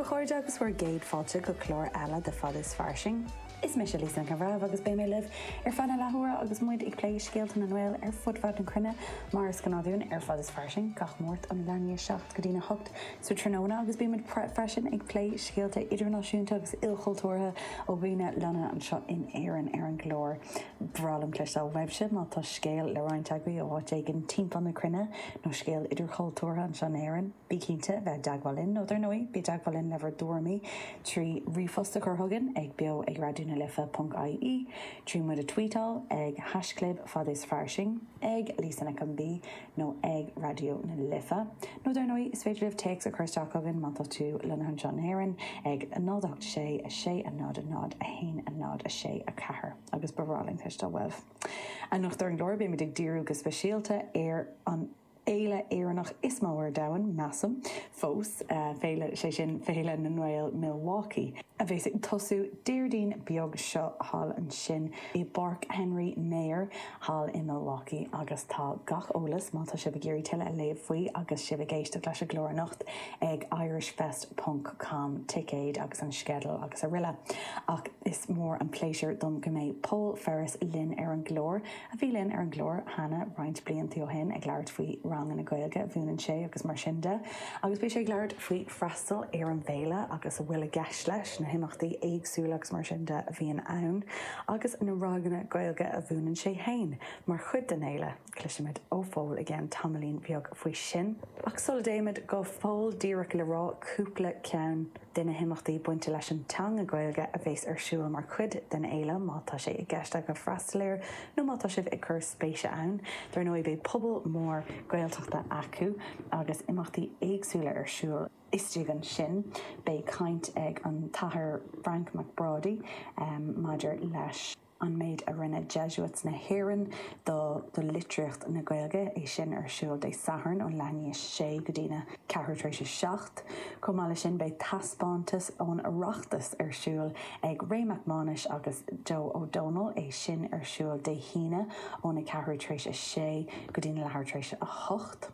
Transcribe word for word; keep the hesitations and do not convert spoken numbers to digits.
a chairde agus bhur gcéad fáilte go clár eile de Fad is Fairsing. Is mise Lisa Nic an Bhreithimh agus beidh mé libh ar feadh na leathuaire agus muid ag plé scéalta na nGael ar fud fad na cruinne mar is gnáth dúinn ar Fad is Fairsing gach Máirt ón leath i ndiaidh a seacht go dtí a hocht sa tráthnóna agus bímid freisin ag plé scéalta idirnáisiúnta agus ilchultúrtha ó dhaoine lonnaithe anseo in Éirinn ar an gclár. B'fhearr liom cloisteáil uaibhse má tá scéal le roinnt agaibh ó áit éigin timpeall na cruinne nó scéal idirchultúrtha anseo in Éirinn. Bí cinnte bheith i dteagmháil linn nó dar ndóigh bí i dteagmháil linn le bhur dtuairimí trí ríomhphost a chur chugainn ag beo ag raidió na life.ie, trí muid a tweetáil ag haischlib fad is fairsing, ag Lisa Nic an B nó ag Raidió na Life. Nó dar ndóigh is féidir libh téacs a chur isteach chugainn má tá tú lonnaithe anseo in Éirinn ag náid ocht sé a sé a náid a náid a haon a náid a sé a ceathair agus ba bhreá linn cloisteáil uaibh. Anocht ar an gclár beimid ag díriú go speisialta ar an fhéile Éireannach is mó ar domhan measaim fós uh, féile sé sin Féile na nGael Milwaukee. A bheas ag tosú Déardaoin beag seo thall ansin i bPáirc Henry Mayer thall i Milwaukee agus tá gach eolas má tá sibh ag iarraidh tuilleadh a léamh faoi agus sibh ag éisteacht leis an gclár anocht ag irishfest.com ticéid agus an sceideal agus araile. Ach is mór an pléisiúr dom go mbeidh Paul Ferris linn ar an gclár a bhí linn ar an gclár cheana roinnt blianta ó shin ag labhairt faoi ranganna Gaeilge a mhúineann sé agus mar sin de, agus beidh sé ag labhairt faoi freastal ar an bhféile agus a bhfuil i gceist leis na himeachtaí éagsúla agus mar sin de a bhíonn ann, agus na ranganna Gaeilge a mhúineann sé féin mar chuid den fhéile. Cloisfimid ó Phól again tamaillín beag faoi sin. Ach sula dtéimid go Pól díreach le rá cúpla ceann de na himeachtaí bainte leis an teanga Gaeilge a bheas ar siúl mar chuid den fhéile má tá sé i gceist agaibh freastal air nó má tá sibh ag cur spéise ann, Dar ndóigh beidh puball mór Gaeltachta acu agus imeachtaí éagsúla ar siúl. Istigh ansin beidh caint ag an tAthair Frank McBrady um, maidir leis an méid a rinne Jesuits na hÉireann do do litríocht na Gaeilge é sin ar siúl Dé Sathairn ón leath i ndiaidh a sé go dtí a ceathrú tar éis a seacht. Chomh maith leis sin beidh taispeántas ón Oireachtas ar siúl ag Ray Mac Mánais agus Joe O'Donnell é sin ar siúl Dé hAoine óna ceathrú tar éis a sé go dtí na leathuair tar éis a hocht.